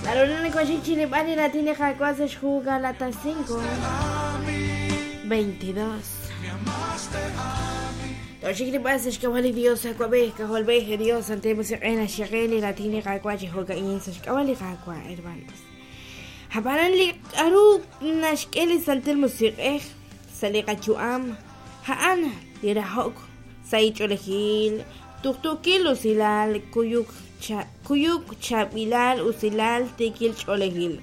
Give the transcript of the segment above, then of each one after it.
Naru nakoxik chilib'al li raatin li Qaawa' sa' xhu Galatas 5, 22. Toxik li b'al sa' xk'ab'a' li Dios Awab'ej, K'ajolb'ej, Dios Santil Musiq'ej naxyeqe li raatin li Qaawa' chi jo'ka'in sa' xk'ab'a' li Qaawa', hermanos. Ab'anan li k'aru naxk'e li Santil Musiq'ej sa' li qayu'am, a'an li rahok, sahil ch'oolejil, tuqtuukil usilal, kuyuk, kuyuk, chaab'ilal, usilal, tiikil ch'oolejil,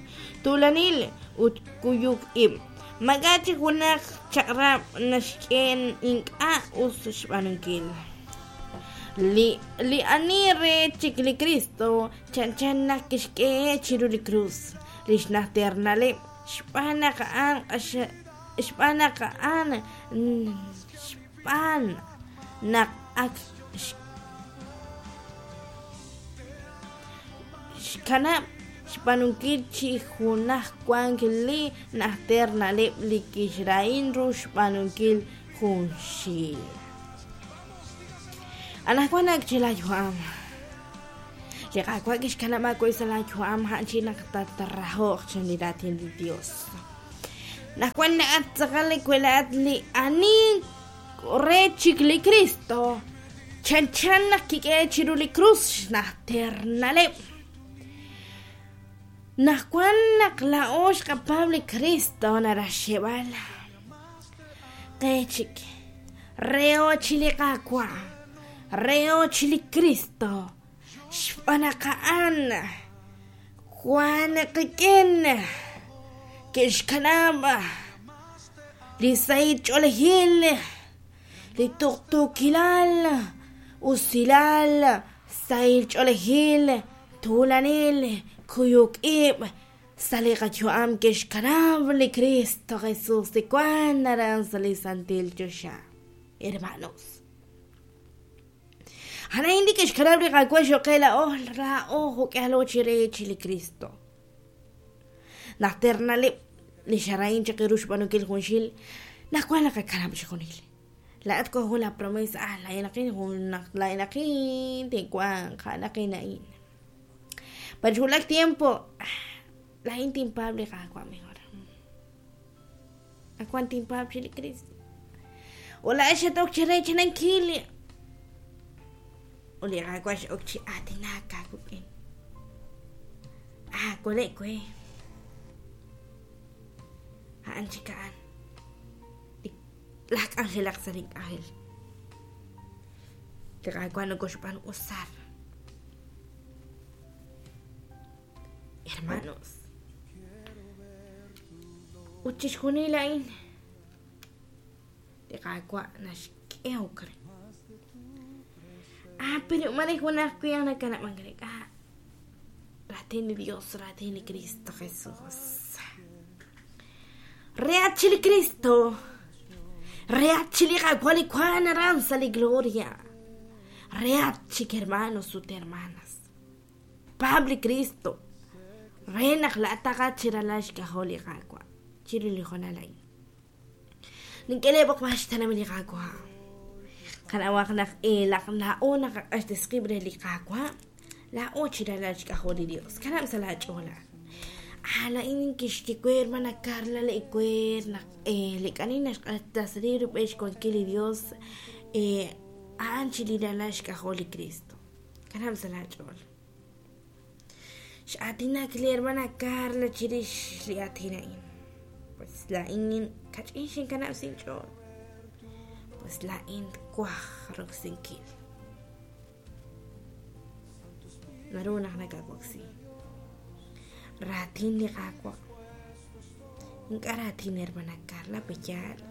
tuulanil ut kuyuk ib'. Maak'a' chik junaq chaq'rab' naxk'e ink'a' us xb'aanunkil. Li, li ani re chik li Kristo chanchan naq kixk'e chiru li krus li xnajter na'leb' xb'aan naq a'an xb'aan naq a'an xb'aan naq ak xkanab' xb'aanunkil chi junaj wank li najter na'leb' li kixrahin ru xb'aanunkil junxil. Anaqwan ak chi laayu'am. Li Qaawa' kixkanab' aawe sa' laayu'am a'an chi naq tatrahoq chan li raatin li Dios. Naqwan laa'at tz'aqal li welaat li ani re chik li Kristo chanchan naq kik'e chiru li krus xnajter na'leb'. Naqwan naq laa'o xqapaab' li Kristo naraj xyeeb'al qe chik reho chi li Qaawa', reho chi li Kristo, xb'aan naq a'an wan qik'in ke'xkanab' li sahil ch'oolejil, li tuqtuukilal, usilal, sahil ch'oolejil, tuulanil, kuyuk ib' sa' li qayu'am ke'xkanab' li Kristo Jesus li wank aran sa' li santil choxa. Hermanos. A'an li ke'xkanab' li Qaawa' cho'q qe laa'o, laa'o jo'k'ihalo chi re chi li Kristo. Najter na'leb' li xara'in chaq ru xb'aanunkil junxil, naq wan naqakanab' chixjunil. Laa'at wank jun laa promesa, ah, laa'inaqin jun naq laa'inaqin tinwanq, a'anaqin a'in. Pero xwulak tiempo, laa'in tinpaab' li Qaawa' mejor. Ak wan tinpaab' chi li Kristo. Ut laa'ex xat-ok chi reechanankil ut li Qaawa' x'ok chi aatinak aawik'in. Ah, kole' we. A'an chik a'an. Laj k'anjelaq sa' link'anjel. Li Qaawa' nokoxb'aanu usar. Hermanos. Ut chixjunil a'in li Qaawa' naxk'ehok re. Ah, pero mare junaq winq nakanab'ank re. Ah, raatin li Dios, raatin li Cristo Jesús. Reat chi li Cristo. Reat chi li Qaawa' li wank aran sa' li gloria. Reat chik hermanos ut hermanas. Paab' li Kristo re naq laa'ataqat chi ralal xk'ajol li Qaawa' chiru li hoonal a'in. Nink'e lee b'oqb'al xtenamit li Qaawa'. Qanawaq naq laq laa'o naqaq'axtesi qib' re li Qaawa', laa'o chi ralal xk'ajol li Dios. Kanab' sa' laa ch'ool a'an. Ah, laa'in kixye we hermana Carla li ewer naq li k'ani naxq'axtesi rub'el xwankil li Dios a'an chi li ralal xk'ajol li Kristo. Kanab' sa' laach'ool. X'aatinak li hermana Carla chirix li aatin a'in. Pues laa'in kach'in xinkanab' sa' inch'ool. Pues laa'in twaj roksinkil. Naru naq nakawoksi. Raatin li Qaawa'. Ink'a' raatin hermana Carla, pe'yaal?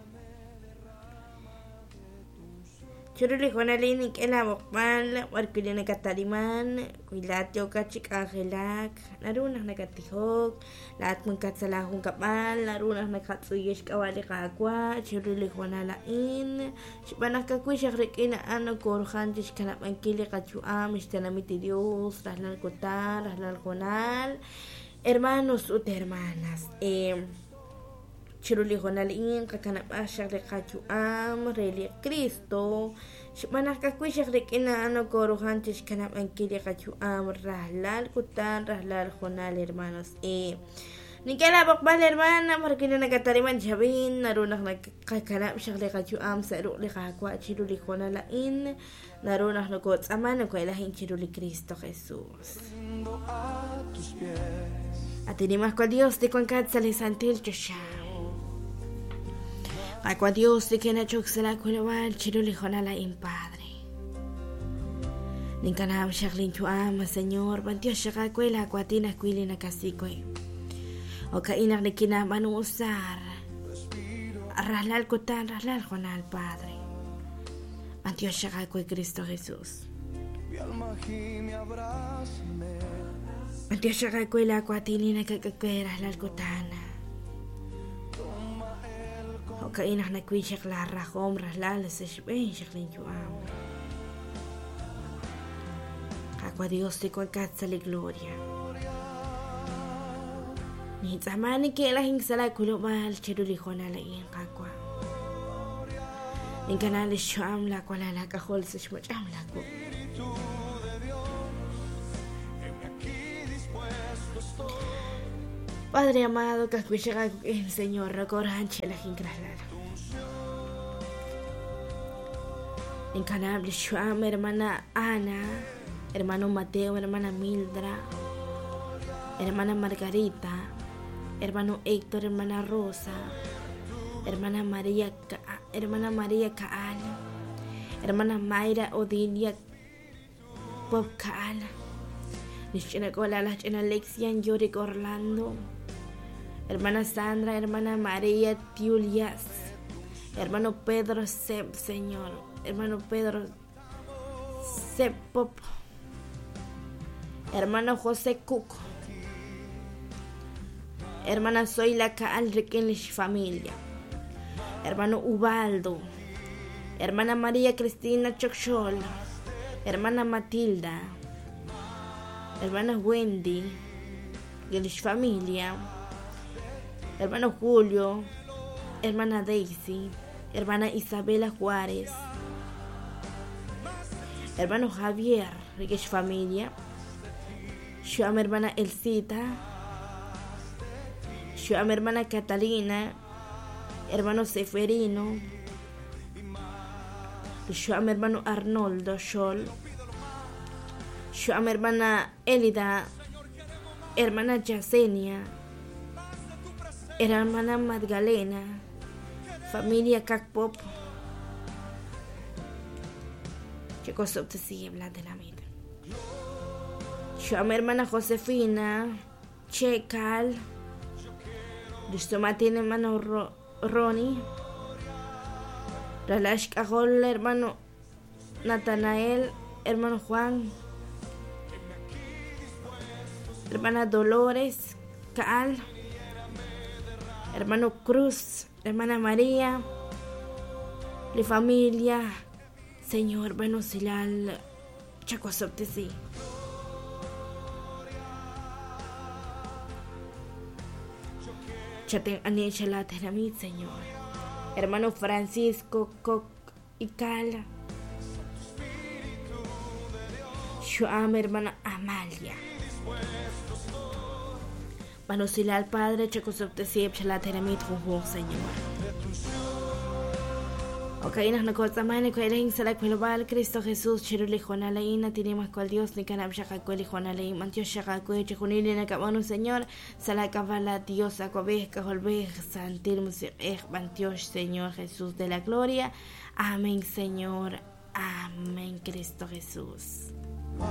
Chiru li hoonal a'in nink'e laab'oqb'al b'arwi' li nakata'liman, wi laa'at yookat chi k'anjelak, naru naq nakattijok, laa'at wankat sa' laajunkab'al, naru naq nakatz'uyi xk'ab'a' li Qaawa' chiru li hoonal a'in, xb'aan naq ka'ajwi' xaq rik'in a'an nokoruhan chi xkanab'ankil li qayu'am, xtenamit li Dios, rajlal kutan, rajlal hoonal. Hermanos ut hermanas, eh. Chiru li hoonal a'in qakanab'aq xaq li qayu'am re li Cristo, xb'aan naq ka'ajwi' xaq rik'in a'an nokoruhan chixkanab'ankil li qayu'am rajlal kutan, rajlal hoonal, hermanos. Nink'e laa b'oqb'al, hermana, b'ar wi' nakatariman chab'in, naru naq naqakanab' xaq li qayu'am sa' ruq' li Qaawa' chiru li hoonal a'in, naru naq nokotz'aaman noko'elajin chiru li Cristo Jesús. Rindo a tus pies. At Nimajwal Dios li wankat sa' li santil choxa. Qaawa' Dios li kinach'ok sa' laa wilob'aal chiru li hoonal a'in, Padre. Ninkanab' xaq linyu'am, Señor, b'antiox xaq aawe laa waatin ajwi' li nakasik we. Jo'ka'in naq nikinab'aanu usar. Respiro Rajlal kutan, rajlal hoonal, Padre. B'antiox xaq aawe, Cristo Jesús. Mi alma gime, abrázame. B'antiox xaq aawe laa waatin li nakak'e we rajlal kutan. Toma el Jo'ka'in naq nawil xaq laa rajom rajlal sa' xb'een xaq linyu'am. Qaawa' Dios li wankat sa' li gloria. Nintz'aama neke'lajink sa' laa wilob'aal chiru li hoonal a'in, Qaawa'. Ninkanab' li xyu'am laa walal aak'ajol sa' xmach'am laa wuq'. Espíritu de Dios, heme aquí dispuesto estoy. Padre amado, ka'ajwi' xaq aawik'in, Señor, nokorahan che'lajink rajlal. Tu unción Ninkanab' li xyu'am hermana Ana, hermano Mateo, hermana Mildra, hermana Margarita, hermano Héctor, hermana Rosa, hermana María, hermana María Kaal, hermana Mayra Odilia Pop Kaal, lix ch'ina k'uula'al laj ch'ina Lexian Yorick Orlando, hermana Sandra, hermana María Tiulias, hermano Pedro Sep, Señor, hermano Pedro Sep Pop, hermano José Cook, hermana Zoila Kaal rik'in lix familia, hermano Ubaldo, hermana María Cristina Chokxol, hermana Matilda, hermana Wendy, lix familia, hermano Julio, hermana Daisy, hermana Isabela Juárez, hermano Javier, lix familia, xyu'am hermana Elcita, xyu'am hermana Catalina, hermano Seferino, xyu'am hermano Arnoldo Xol, xyu'am hermana Elida, hermana Yasenia, hermana Magdalena, familia Kakpop, Chicos, te sigue de la vida. Xyu'am hermana Josefina, Checal, lix sumatin hermano Ronnie, ralal xk'ajol hermano Natanael, hermano Juan, hermana Dolores Kaal, hermano Cruz, hermana María, li familia, Señor, bueno, silal, chakosoptesi. Chaten anisha la tenamit, Señor. Hermano Francisco Coc y Cal. Xyu'am hermana Amalia. Manusilal Padre, chakosoptesi, chala tenamit, junjun, Señor. Okay, naq nokotz'aman ko'elajin sa' la wilob'aal Cristo Jesús chiru li hoonal a'in atinimajwal Dios nikanab' xaq aawe li hoonal a'in b'antiox xaq aawe chijunil li nakab'aanu Señor sa' la k'ab'a' la Dios awab'ej k'ajolb'ej Santil Musiq'ej b'antiox Señor Jesús de la gloria. Amén, Señor. Amén, Cristo Jesús.